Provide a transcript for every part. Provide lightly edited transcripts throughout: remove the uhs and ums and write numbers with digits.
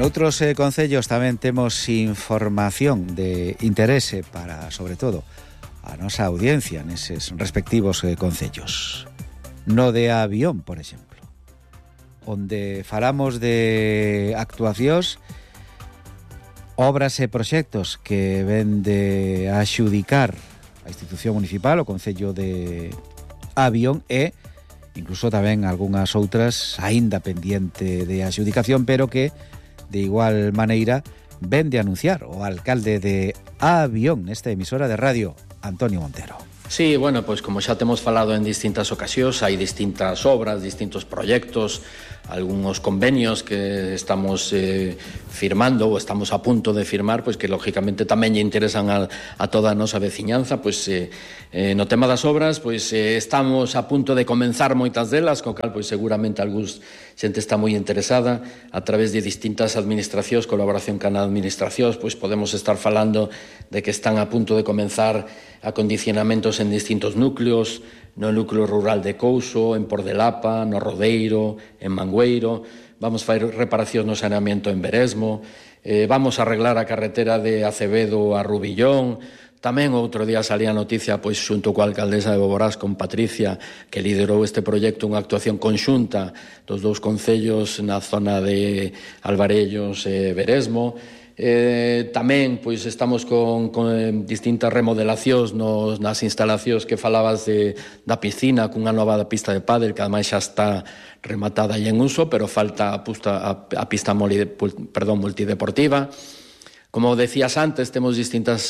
Noutros concellos tamén temos información de interese para, sobre todo, a nosa audiencia neses respectivos concellos. No de Avión, por exemplo, onde falamos de actuacións, obras e proxectos que ven de axudicar a institución municipal, o concello de Avión, e incluso tamén algunhas outras aínda pendiente de axudicación, pero que de igual maneira ven de anunciar o alcalde de Avión nesta emisora de radio, Antonio Montero. Sí, bueno, pois como xa temos falado en distintas ocasións, hai distintas obras, distintos proxectos, algúns convenios que estamos firmando ou estamos a punto de firmar, pois que lógicamente tamén lle interesan a toda a nosa veciñanza. Pois no tema das obras, pois estamos a punto de comenzar moitas delas, co cal pois seguramente algúns xente está moi interesada a través de distintas administracións, colaboración con administracións, pois podemos estar falando de que están a punto de comenzar acondicionamentos en distintos núcleos, no núcleo rural de Couso, en Pordelapa, no Rodeiro, en Mangueiro. Vamos facer reparacións no saneamento en Beresmo, vamos a arreglar a carretera de Acevedo a Rubillón. Tamén outro día salía a noticia, pois xunto coa alcaldesa de Boborás, con Patricia, que liderou este proxecto, unha actuación conxunta dos dous concellos na zona de Alvarellos e Beresmo. Tamén pois estamos con distintas remodelacións nas instalacións que falabas da piscina, cunha nova pista de pádel que ademais xa está rematada e en uso, pero falta a pista multideportiva. Como decías antes, temos distintas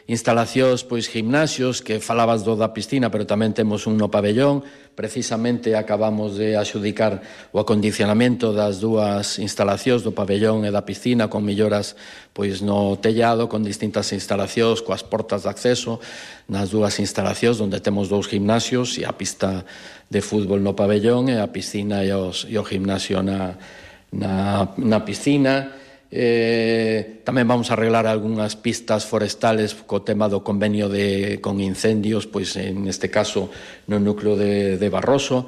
instalacións, pois gimnasios, que falabas da piscina, pero tamén temos un no pabellón. Precisamente acabamos de axudicar o acondicionamento das dúas instalacións do pabellón e da piscina, con melloras pois no tellado, con distintas instalacións, coas portas de acceso nas dúas instalacións, onde temos dous gimnasios e a pista de fútbol no pabellón e a piscina e o gimnasio na piscina. Tamén vamos a arreglar algunhas pistas forestales co tema do convenio con incendios, pois en este caso no núcleo de Barroso.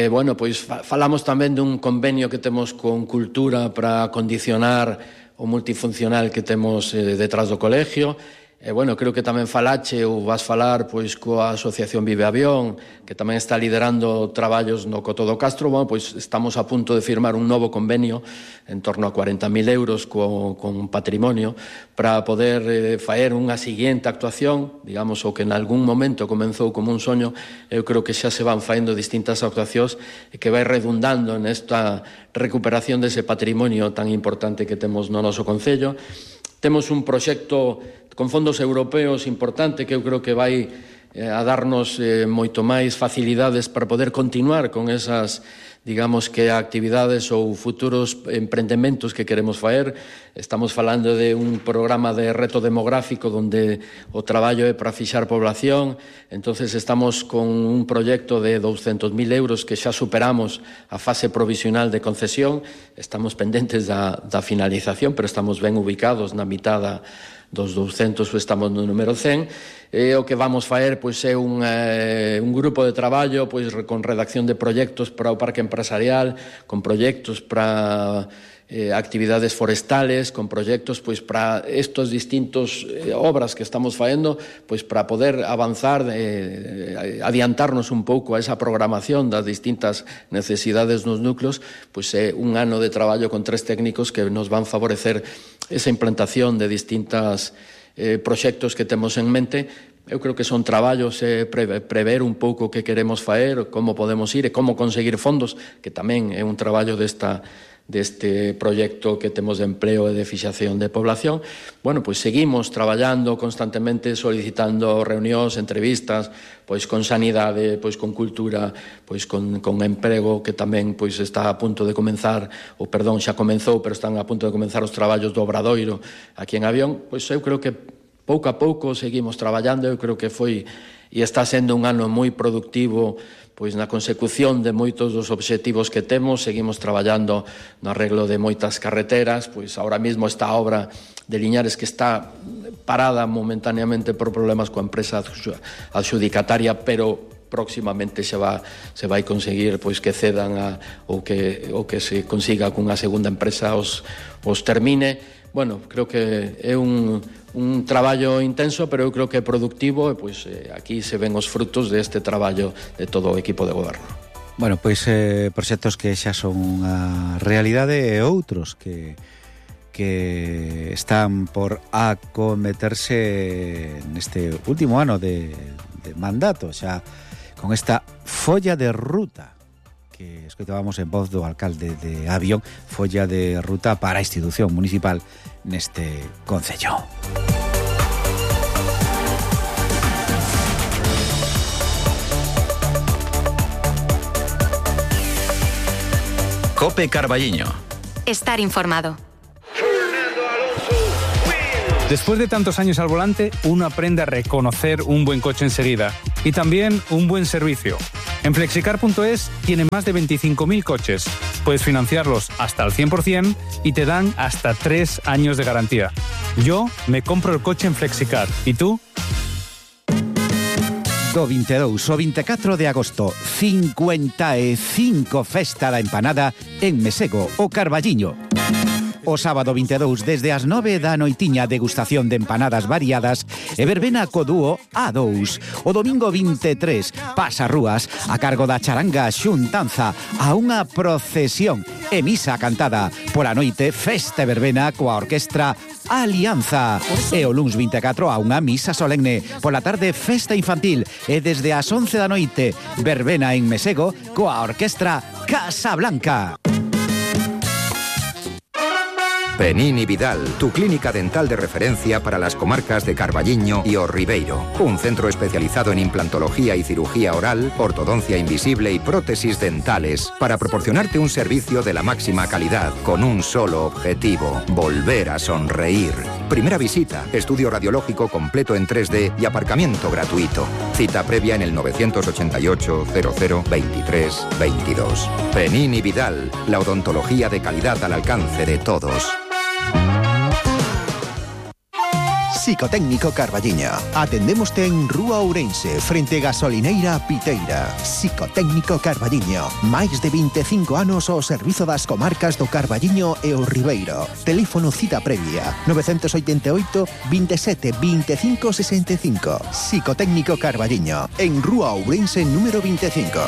Bueno, pois falamos tamén dun convenio que temos con Cultura para acondicionar o multifuncional que temos detrás do colegio. Bueno, creo que tamén falache ou vas falar pois coa Asociación Vive Avión, que tamén está liderando traballos no Coto do Castro. Bueno, pois estamos a punto de firmar un novo convenio en torno a 40.000 euros con patrimonio para poder faer unha seguinte actuación, digamos, o que en algún momento comenzou como un soño. Eu creo que xa se van faendo distintas actuacións e que vai redundando nesta recuperación dese patrimonio tan importante que temos no noso concello. Temos un proxecto con fondos europeos importante que eu creo que vai a darnos moito máis facilidades para poder continuar con esas, digamos que actividades ou futuros emprendementos que queremos faer. Estamos falando de un programa de reto demográfico onde o traballo é para fixar población. Entonces estamos con un proxecto de 200.000 euros que xa superamos a fase provisional de concesión. Estamos pendentes da finalización, pero estamos ben ubicados na mitad dos 200, estamos no número 100. O que vamos faer pois é un grupo de traballo pois con redacción de proxectos para o parque empresarial, con proxectos para actividades forestales, con proxectos pois para estos distintos obras que estamos faendo, pois para poder avanzar, adiantarnos un pouco a esa programación das distintas necesidades nos núcleos. Pois é un ano de traballo con 3 técnicos que nos van favorecer esa implantación de distintas proxectos que temos en mente. Eu creo que son traballos prever un pouco o que queremos faer, como podemos ir e como conseguir fondos, que tamén é un traballo deste proxecto que temos de empleo e de fixación de población. Bueno, pois seguimos traballando constantemente, solicitando reunións, entrevistas, pois con sanidade, pois con cultura, pois con emprego, que tamén pois está a punto de comenzar, xa comenzou, pero están a punto de comenzar os traballos do Obradoiro aquí en Avión. Pois eu creo que pouco a pouco seguimos traballando. Eu creo que foi e está sendo un ano moi productivo pois na consecución de moitos dos obxectivos que temos. Seguimos traballando no arreglo de moitas carreteras. Pois ahora mesmo esta obra de Liñares, que está parada momentáneamente por problemas coa empresa adxudicataria, pero próximamente se vai conseguir pois que cedan ou que se consiga cunha segunda empresa os termine. Bueno, creo que é un traballo intenso, pero eu creo que é productivo e pois aquí se ven os frutos deste traballo de todo o equipo de goberno. Bueno, pois proxectos que xa son unha realidade e outros que están por acometerse neste último ano de mandato, xa con esta folla de ruta que escoitábamos en voz do alcalde de Avión, folla de ruta para a institución municipal neste concello. COPE Carballiño. Estar informado. Después de tantos años al volante, uno aprende a reconocer un buen coche enseguida y también un buen servicio. En Flexicar.es tienen más de 25.000 coches. Puedes financiarlos hasta al 100% y te dan hasta 3 años de garantía. Yo me compro el coche en Flexicar. ¿Y tú? Do 22 ao 24 de agosto, 55 Festa da Empanada en Mesego, o Carballiño. O sábado 22, desde as 9 da noitiña, degustación de empanadas variadas e verbena co dúo A2. O domingo 23, pasarrúas a cargo da charanga xuntanza a unha procesión e misa cantada. Pola noite, festa e verbena coa orquestra Alianza. E o luns 24 a unha misa solemne. Pola tarde, festa infantil. E desde as 11 da noite, verbena en Mesego coa orquestra Casablanca. Penini Vidal, tu clínica dental de referencia para las comarcas de Carballiño y O Ribeiro. Un centro especializado en implantología y cirugía oral, ortodoncia invisible y prótesis dentales para proporcionarte un servicio de la máxima calidad con un solo objetivo: volver a sonreír. Primera visita, estudio radiológico completo en 3D y aparcamiento gratuito. Cita previa en el 988 00 23 22. Penini Vidal, la odontología de calidad al alcance de todos. Psicotécnico Carballiño. Atendémoste en Rúa Ourense, frente Gasolineira Piteira. Psicotécnico Carballiño. Máis de 25 anos ao servizo das comarcas do Carballiño e o Ribeiro. Teléfono cita previa 988 27 25 65. Psicotécnico Carballiño. En Rúa Ourense número 25.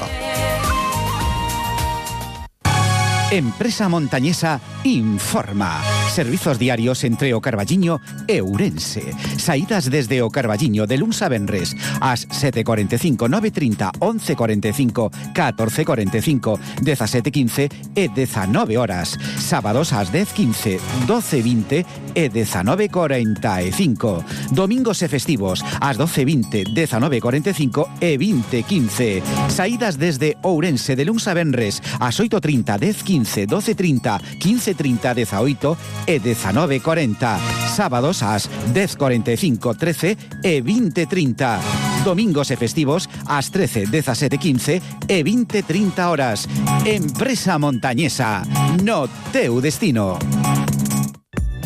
Empresa Montañesa informa. Servizos diarios entre o Carballiño e Ourense. Saídas desde o Carballiño de luns a venres ás 7:45, 9:30, 11:45, 14:45, 17:15 e 19 horas. Sábados ás 10:15, 12:20 e 19:45. Domingos e festivos ás 12:20, 19:45 e 20:15. Saídas desde Ourense de luns a venres ás 8:30, 10:15, 12:30, 15:30, 18 e 19:40. Sábados ás 10:45, 13 e 20:30. Domingos e festivos ás 13, 17:15 e 20:30 horas. Empresa Montañesa, no teu destino.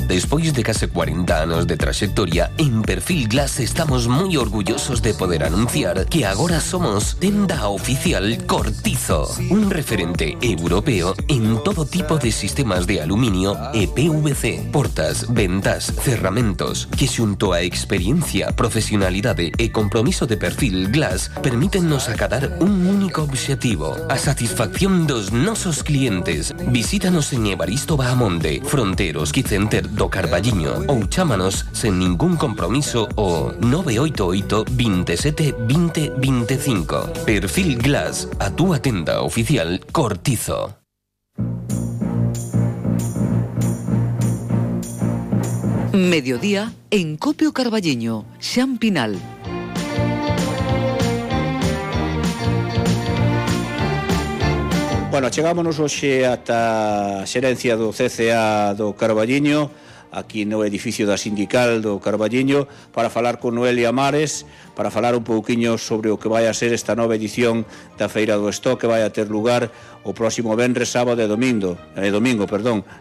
Despois de case 40 anos de traxectoria, en Perfil Glass estamos moi orgullosos de poder anunciar que agora somos tenda oficial Cortizo, un referente europeo en todo tipo de sistemas de aluminio e PVC, portas, ventas, cerramentos, que xunto a experiencia, profesionalidade e compromiso de Perfil Glass permítennos acadar un único obxectivo: a satisfacción dos nosos clientes. Visítanos en Evaristo Bahamonde, Fronteros Quicenter do Carballiño, ou chámanos sen ningún compromiso o 988 27 20 25. Perfil Glass, a túa tenda oficial Cortizo. Mediodía en Copio Carballiño, Xan Pinal. Bueno, chegámonos hoxe ata a xerencia do CCA do Carballiño aquí no edificio da Sindical do Carballiño para falar con Noelia Mares, para falar un pouquiño sobre o que vai a ser esta nova edición da Feira do Stock que vai a ter lugar o próximo venres, sábado e domingo.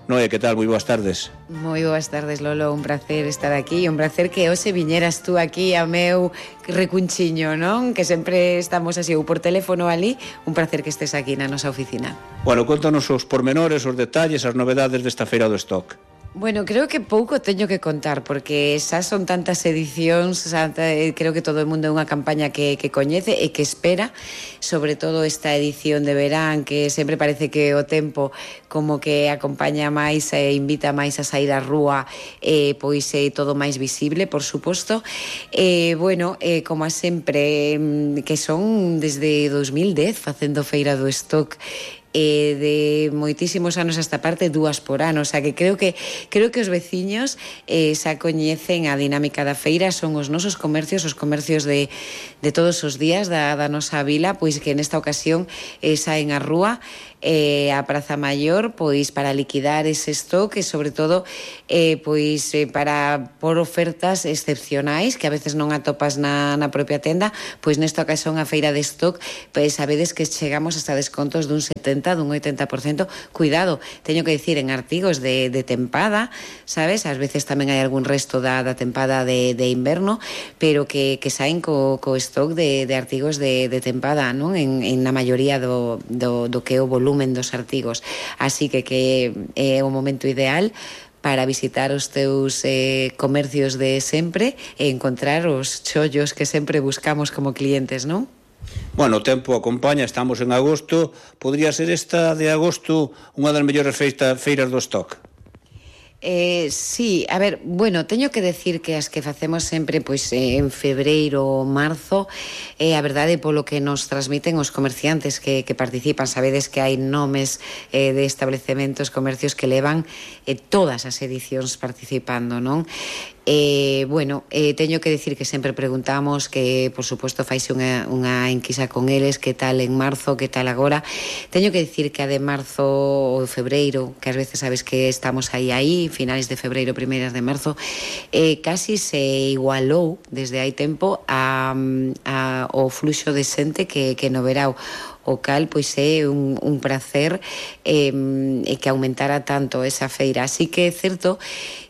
Noe, que tal? Moi boas tardes. Moi boas tardes, Lolo, un placer estar aquí, un placer que hoxe viñeras tú aquí ao meu recunchiño, non? Que sempre estamos así ou por teléfono ali, un placer que estés aquí na nosa oficina. Bueno, contanos os pormenores, os detalles, as novedades desta Feira do Stock. Bueno, creo que pouco teño que contar porque xa son tantas edicións, creo que todo o mundo é unha campaña que coñece e que espera, sobre todo esta edición de verán que sempre parece que o tempo como que acompaña máis e invita máis a sair á rúa, pois é todo máis visible, por suposto. Bueno, como a sempre, que son desde 2010 facendo Feira do Stock, de moitísimos anos a esta parte, 2 por ano, o sea que creo que os veciños xa coñecen a dinámica da feira, son os nosos comercios, os comercios de todos os días da nosa vila, pois que nesta ocasión saen á rúa a Praza Maior, pois para liquidar ese stock e sobre todo pois para por ofertas excepcionais que a veces non atopas na propia tenda, pois nesta ocasión a feira de stock, pois sabedes que chegamos hasta descontos dun 70, dun 80%, cuidado, teño que dicir en artigos de tempada, sabes, ás veces tamén hai algún resto da tempada de inverno, pero que saen co stock de artigos de tempada, non? En na maioría do que é o volumen dos artigos, así que é o momento ideal para visitar os teus comercios de sempre e encontrar os chollos que sempre buscamos como clientes, non? Bueno, o tempo acompaña, estamos en agosto, podría ser esta de agosto unha das mellores feiras do stock? Sí, a ver, bueno, teño que decir que as que facemos sempre pois en febreiro ou marzo, a verdade polo que nos transmiten os comerciantes que participan, sabedes que hai nomes de establecementos, comercios que levan todas as edicións participando, non? Bueno, teño que decir que sempre preguntamos que, por suposto, faise unha enquisa con eles, que tal en marzo, que tal agora. Teño que decir que a de marzo ou febreiro, que ás veces sabes que estamos aí, finais de febreiro, primeiras de marzo, casi se igualou desde hai tempo ao fluxo de xente que no verao. O cal, pois é un placer que aumentara tanto esa feira. Así que é certo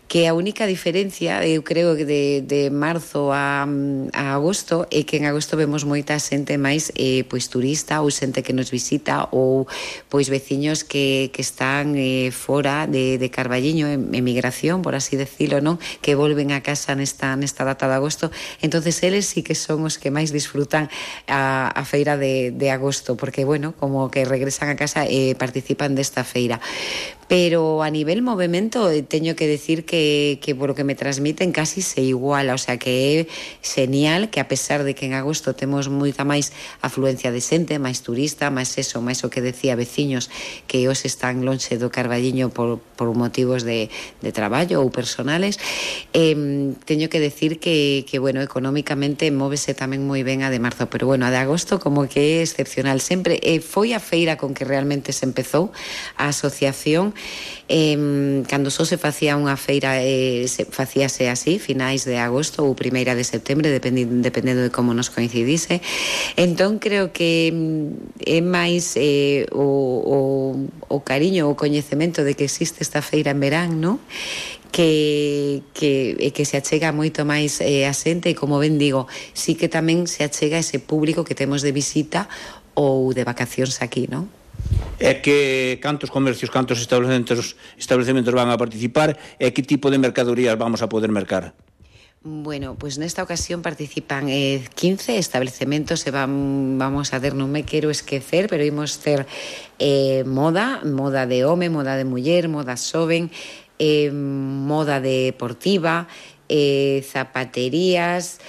que a única diferencia, eu creo que de marzo a agosto, é que en agosto vemos moita xente máis pois turista ou xente que nos visita ou pois veciños que están fora de Carballiño, en emigración, por así decirlo, non? Que volven a casa nesta data de agosto. Entonces eles sí que son os que máis disfrutan a feira de agosto, porque, bueno, como que regresan a casa e participan desta feira. Pero a nivel movimento teño que decir que por lo que me transmiten casi se iguala, o sea que é genial que a pesar de que en agosto temos moita máis afluencia de xente, máis turista, máis o que decía, veciños que os están lonxe do Carballiño por motivos de traballo ou personales, teño que decir que bueno, económicamente móvese tamén moi ben a de marzo, pero bueno, a de agosto como que é excepcional sempre, foi a feira con que realmente se empezou a asociación. Cando só se facía unha feira facíase así, finais de agosto ou primeira de setembro, dependendo de como nos coincidise. Entón creo que é máis o cariño, o coñecemento de que existe esta feira en verán, non? Que se achega moito máis a xente e, como ben digo, sí que tamén se achega ese público que temos de visita ou de vacacións aquí, non? É que cantos comercios, cantos establecementos van a participar e que tipo de mercadorías vamos a poder mercar? Bueno, pues nesta ocasión participan 15 estabelecementos e vamos a ver, non me quero esquecer, pero imos ter moda de home, moda de muller, moda xoven, moda deportiva, zapaterías,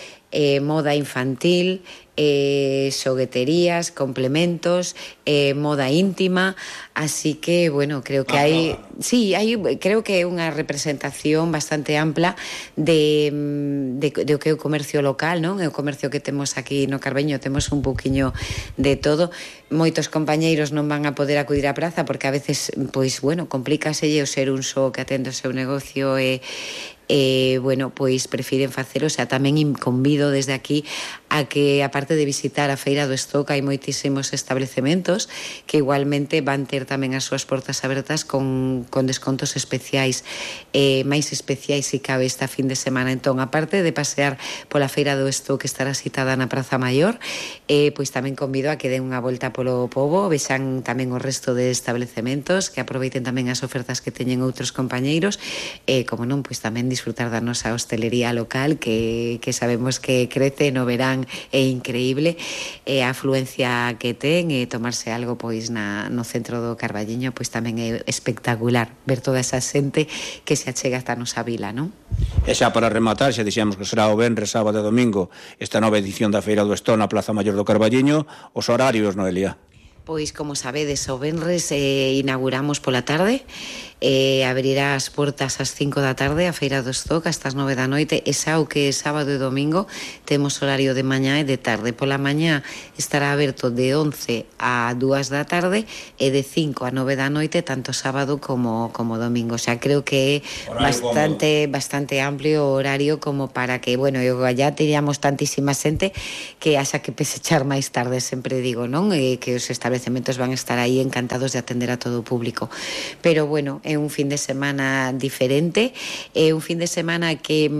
moda infantil, xogueterías, complementos, moda íntima, así que, bueno, creo que creo que é unha representación bastante ampla de o que é o comercio local, non? É o comercio que temos aquí no Carballiño, temos un pouquiño de todo. Moitos compañeiros non van a poder acudir á praza porque a veces, pois, bueno, complícaselle o ser un só que atende o seu negocio bueno, pois prefiren facelo, o sea, tamén convido desde aquí a que, aparte de visitar a Feira do Stock, hai moitísimos establecementos que igualmente van ter tamén as súas portas abertas con descontos especiais, máis especiais se cabe esta fin de semana. Entón, aparte de pasear pola Feira do Stock que estará citada na Praza Maior, pois tamén convido a que den unha volta polo pobo, vexan tamén o resto de establecementos, que aproveiten tamén as ofertas que teñen outros compañeiros, como non, pois tamén disfrutar da nosa hostelería local que sabemos que crece no verán, é increíble, a afluencia que ten, e tomarse algo pois no centro do Carballiño pois tamén é espectacular ver toda esa xente que se achega ata a nosa vila, non? E xa para rematar, xa dixemos que será o venres, sábado e domingo esta nova edición da Feira do Stock na Plaza Maior do Carballiño. Os horarios, Noelia? Pois, como sabedes, o venres inauguramos pola tarde, abrirá as portas ás 5 da tarde a Feira do Stock hasta as 9 da noite, e xa o que é sábado e domingo temos horario de mañá e de tarde. Pola mañá estará aberto de 11 a 2 da tarde e de 5 a 9 da noite tanto sábado como domingo. O sea, creo que é bastante amplio o horario como para que, bueno, ya teríamos tantísima xente que haxa que pesechar máis tarde, sempre digo, non? Que os estabelecementos van a estar aí encantados de atender a todo o público. Pero, bueno, é un fin de semana diferente, é un fin de semana que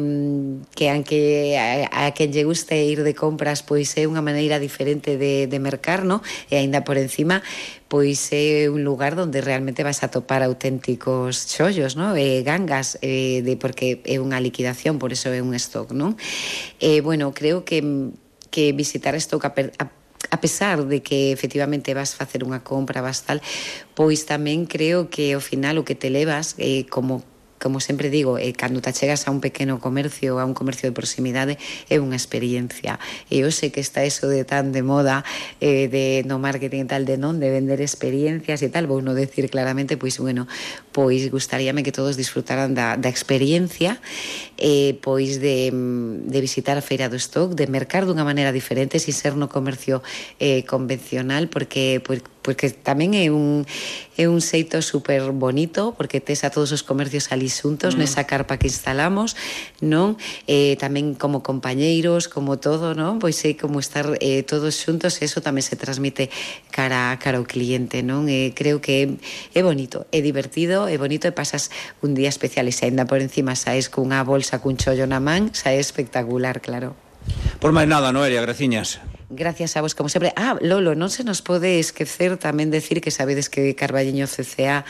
aunque a quen lle guste ir de compras, pois é unha maneira diferente de mercar, no? E aínda por encima, pois é un lugar onde realmente vas a topar auténticos chollos, no? Gangas, porque é unha liquidación, por eso é un stock, non? Bueno, creo que visitar stock a pesar de que efectivamente vas facer unha compra, vas tal, pois tamén creo que ao final o que te levas, como sempre digo, cando te achegas a un pequeno comercio, a un comercio de proximidade, é unha experiencia. E eu sei que está eso de tan de moda, no marketing e tal, de vender experiencias e tal, vou non decir claramente, pois, bueno, pois gustaríame que todos disfrutaran da experiencia, pois de visitar a Feira do Stock, de mercar dunha maneira diferente, sin ser no comercio convencional, porque tamén é un xeito super bonito, porque tes a todos os comercios ali xuntos nesa carpa que instalamos, non? Tamén como compañeiros, como todo, non? Pois é como estar todos xuntos, e eso tamén se transmite cara ao cliente, non? Creo que é bonito, é divertido, é bonito, e pasas un día especial, e se ainda por encima saes cunha bolsa cun chollo na man, xa é espectacular, claro. Por máis nada, Noelia, graciñas. Gracias a vos, como sempre. Lolo, non se nos pode esquecer tamén decir que sabedes que Carballiño CCA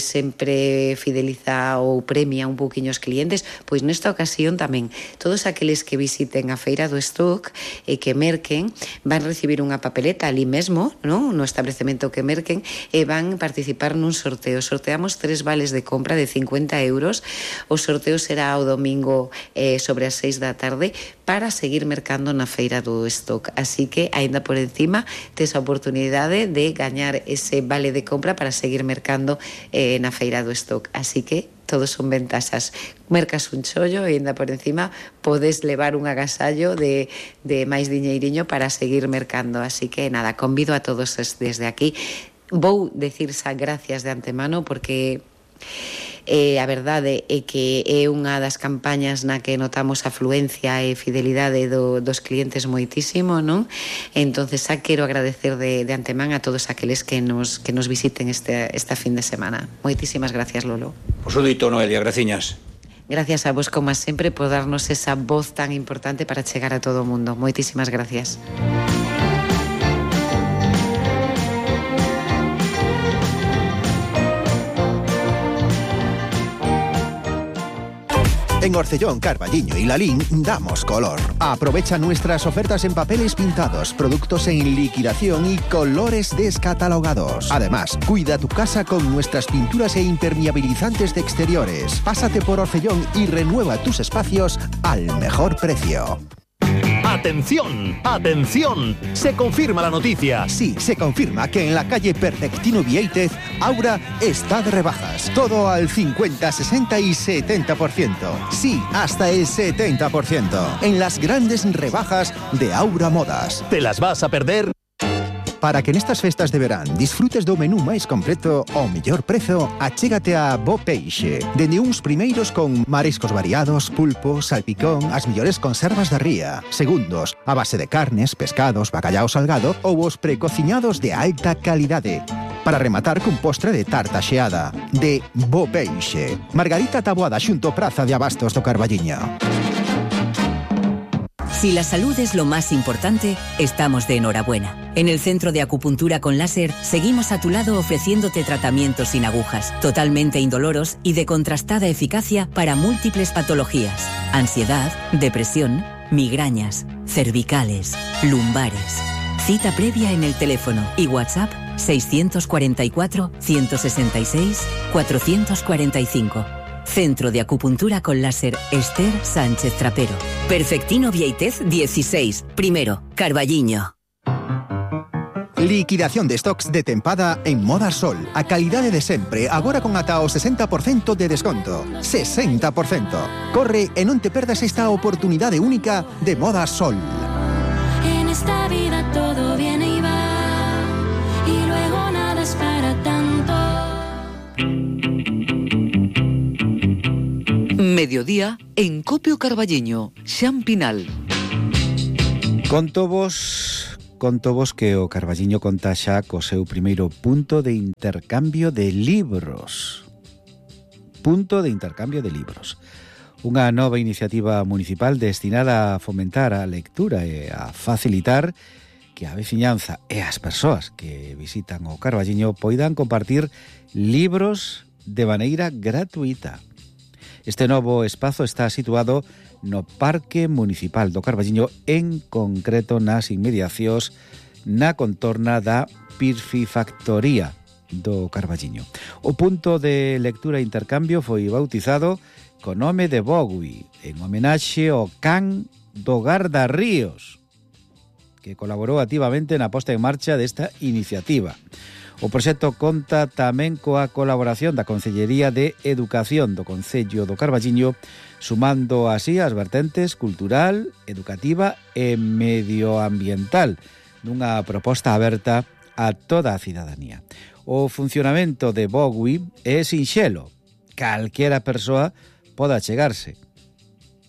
sempre fideliza ou premia un pouquiño os clientes, pois nesta ocasión tamén todos aqueles que visiten a Feira do Stock e que merquen van recibir unha papeleta ali mesmo, non? No establecemento que merquen, e van participar nun sorteo. Sorteamos 3 vales de compra de 50 euros. O sorteo será o domingo sobre as 6 da tarde para seguir mercando na Feira do Stock. Así que, aínda por encima, tes a oportunidade de gañar ese vale de compra para seguir mercando na Feira do Stock. Así que todos son ventaxas. Mercas un chollo e aínda por encima podes levar un agasallo de máis diñeiriño para seguir mercando. Así que, nada, convido a todos desde aquí. Vou decir xa gracias de antemano porque a verdade é que é unha das campañas na que notamos a afluencia e fidelidade dos clientes moitísimo, non? Entonces xa quero agradecer de antemán a todos aqueles que nos visiten esta fin de semana. Moitísimas gracias, Lolo. Pois o dito, Noelia, graciñas. Gracias a vos, como sempre, por darnos esa voz tan importante para chegar a todo o mundo. Moitísimas gracias. En Orcellón, Carballiño y Lalín damos color. Aprovecha nuestras ofertas en papeles pintados, productos en liquidación y colores descatalogados. Además, cuida tu casa con nuestras pinturas e impermeabilizantes de exteriores. Pásate por Orcellón y renueva tus espacios al mejor precio. ¡Atención! ¡Atención! Se confirma la noticia. Sí, se confirma que en la calle Perfectino Vieitez, Aura está de rebajas. Todo al 50, 60 y 70%. Sí, hasta el 70%. En las grandes rebajas de Aura Modas. ¿Te las vas a perder? Para que nestas festas de verán disfrutes do menú máis completo ao mellor prezo, achégate a Bo Peixe. Dende uns primeiros con mariscos variados, pulpo, salpicón, as mellores conservas da ría. Segundos, a base de carnes, pescados, bacallao salgado ou os precociñados de alta calidade. Para rematar cun postre de tarta xeada. De Bo Peixe. Margarita Taboada xunto Praza de Abastos do Carballiño. Si la salud es lo más importante, estamos de enhorabuena. En el Centro de Acupuntura con Láser seguimos a tu lado ofreciéndote tratamientos sin agujas, totalmente indoloros y de contrastada eficacia para múltiples patologías: ansiedad, depresión, migrañas, cervicales, lumbares. Cita previa en el teléfono y WhatsApp 644 166 445. Centro de Acupuntura con Láser Esther Sánchez Trapero. Perfectino Vieitez 16, primero, Carballiño. Liquidación de stocks de tempada en Moda Sol. A calidade de sempre, agora con ata o 60% de desconto. 60%. Corre e non te perdas esta oportunidade única de Moda Sol. En esta vida todo viene y va, y luego nada es para tanto. Mediodía en Copio Carballiño, Xampinal. Conto vos que o Carballiño conta xa co seu primeiro punto de intercambio de libros. Punto de intercambio de libros. Unha nova iniciativa municipal destinada a fomentar a lectura e a facilitar que a veciñanza e as persoas que visitan o Carballiño poidan compartir libros de maneira gratuita. Este novo espazo está situado no Parque Municipal do Carballiño, en concreto nas inmediacións na contorna da Piscifactoría do Carballiño. O punto de lectura e intercambio foi bautizado co nome de Bogui, en homenaxe ao can do Gardarríos, que colaborou activamente na posta en marcha desta iniciativa. O proxecto conta tamén coa colaboración da Concellería de Educación do Concello do Carballiño, sumando así as vertentes cultural, educativa e medioambiental, nunha proposta aberta a toda a cidadanía. O funcionamento de Bogui é sinxelo. Calquera persoa pode achegarse.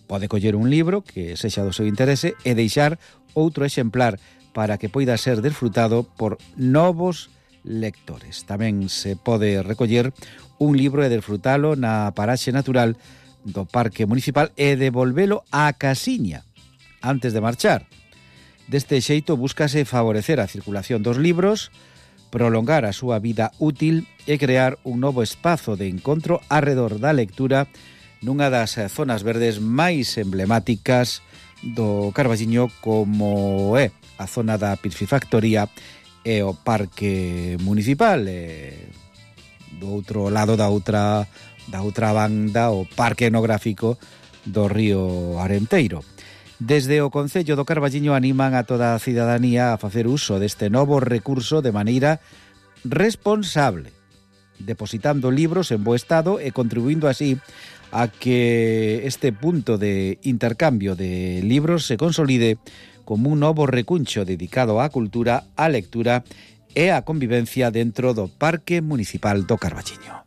Pode coller un libro que sexa do seu interese e deixar outro exemplar para que poida ser desfrutado por novos lectores. Tamén se pode recoller un libro e desfrutalo na paraxe natural do Parque Municipal e devolvelo á casiña antes de marchar. Deste xeito búscase favorecer a circulación dos libros, prolongar a súa vida útil e crear un novo espazo de encontro arredor da lectura nunha das zonas verdes máis emblemáticas do Carballiño, como é a zona da Piscifactoría e o Parque Municipal, do outro lado da outra banda, o Parque Etnográfico do Río Arenteiro. Desde o Concello do Carballiño animan a toda a cidadanía a facer uso deste novo recurso de maneira responsable, depositando libros en bo estado e contribuindo así a que este punto de intercambio de libros se consolide como un novo recuncho dedicado á cultura, á lectura e á convivencia dentro do Parque Municipal do Carballiño.